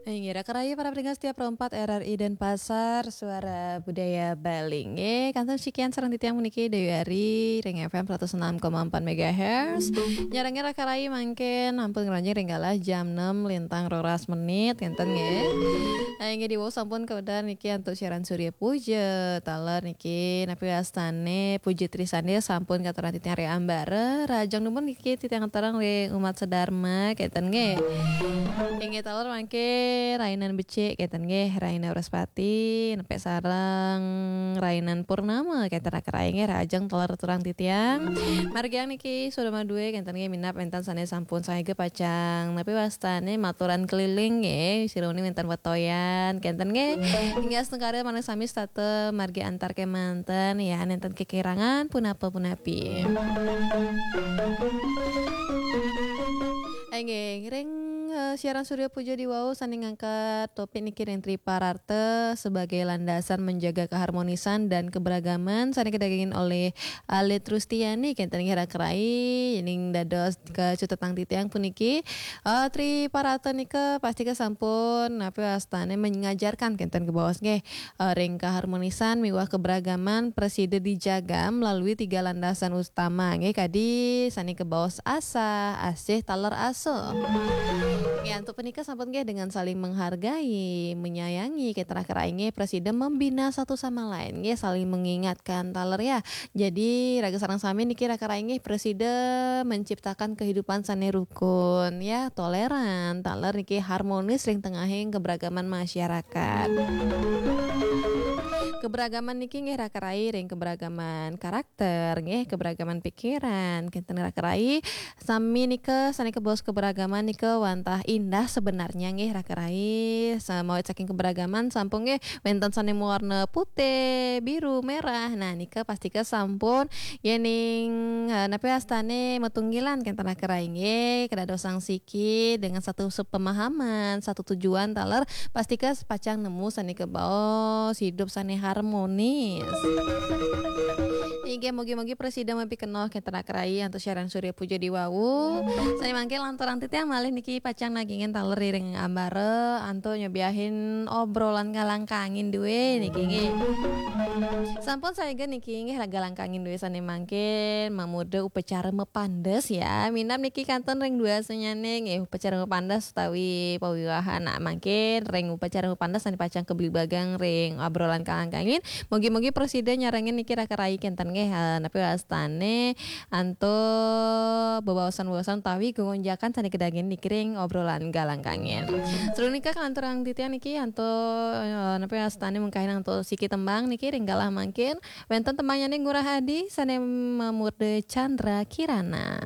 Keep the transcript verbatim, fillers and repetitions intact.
Inggih, raka rayi para pendengar setia Pro empat R R I Denpasar, Suara Budaya Bali. Inggih, kantun sikian sareng titiang puniki Dewi Ari ring F M seratus enam koma empat megahertz. Nyarengin raka rayi mangkin ampun ngranjing ring galah jam enam lintang roras menit, ngenten nggih. Nah, inggih diwau sampun kawedar niki antuk siaran Surya Puja, taler niki napi wastane Puja Trisandil sampun katurang titiang ring ambara, rahajeng dumun niki titiang katurang ring umat sedharma, kenten nggih. Inggih taler mangke rainan becik, kenten nggih, raina Wrespati, nepek sareng rainan Purnama, kenten raka rayi nggih, rahajeng taler katurang titiang. Margiang niki suda madue, kenten nggih, minab wenten sane sampun sayaga pacang. Napi wastane maturan keliling nggih, sira uning wenten wetoyan, kenten nggih. Inggih astungkara manah sami setata margi antar kemanten, ya, nenten kekirangan, punapa punapi. Inggih, ring, eh, siaran Surya Puja diwau sane ngangkat topik niki ring Tripararta sebagai landasan menjaga keharmonisan dan keberagaman sane kadagingin oleh Alit Rustiani, kenten nggih raka rayi, ning dados kacutetang titiang puniki. Eh, Tripararta nika pastika sampun napi wastane mengajarkan kenten kebaos nggih. Eh, ring keharmonisan miwah keberagaman prasida dijaga melalui tiga landasan utama nggih, kadi sane kebaos asah, asih, taler asuh. Nggih, antuk punika sampun nggih dengan saling menghargai, menyayangi, kenten raka rayi nggih, prasida membina satu sama lain nggih, saling mengingatkan taler ya. Jadi raga sareng sami niki raka rayi nggih, prasida menciptakan kehidupan sane rukun ya, toleran, taler niki harmonis ring tengahing keberagaman masyarakat. Keberagaman niki nggih raka rayi ring keberagaman karakter nggih, keberagaman pikiran, kenten raka rayi. Sami nika sane kebaos keberagaman nika wantah indah sebenarnya nggih raka rayi. Samawit saking keberagaman sampun nggih wenten sane mawarna putih, biru, merah. Nah, nika pastika sampun yening, eh, napi wastane matunggilan kenten raka rayi nggih, kadadosang siki dengan satu sepemahaman, satu tujuan taler, pastika pacang nemu sane kebaos hidup sane harmonis. Inggih, mugi-mugi prasida mapikenoh kenten raka rayi antuk siaran Surya Puja diwau. Sane mangke lanturang titiang malih niki pacang nagingin taler ring ambara antuk nyobiahin obrolan galang kangin due niki nggih. Sampun sayaga niki nggih galang kangin due sane mangkin mamurda upacara mapandes ya. Minab niki kantun ring dua sanyane nggih upacara mapandes utawi pawiwahan. Nah, mangkin ring upacara mapandes sane pacang kablibagang ring obrolan galang kangin. Mugi-mugi prasida nyarengin niki raka rayi kenten nggih, eh, napi wastane antuk bebaosan-bebaosan utawi gonjakan sane kadagingin niki ring obrolan galang kangin. Sadurung nika kalanturang titiang niki antuk, eh, napi wastane mungkahin antuk siki tembang niki ring galah mangkin. Wenten tembangnyane Ngurah Adi sane mamurda Chandra Kirana.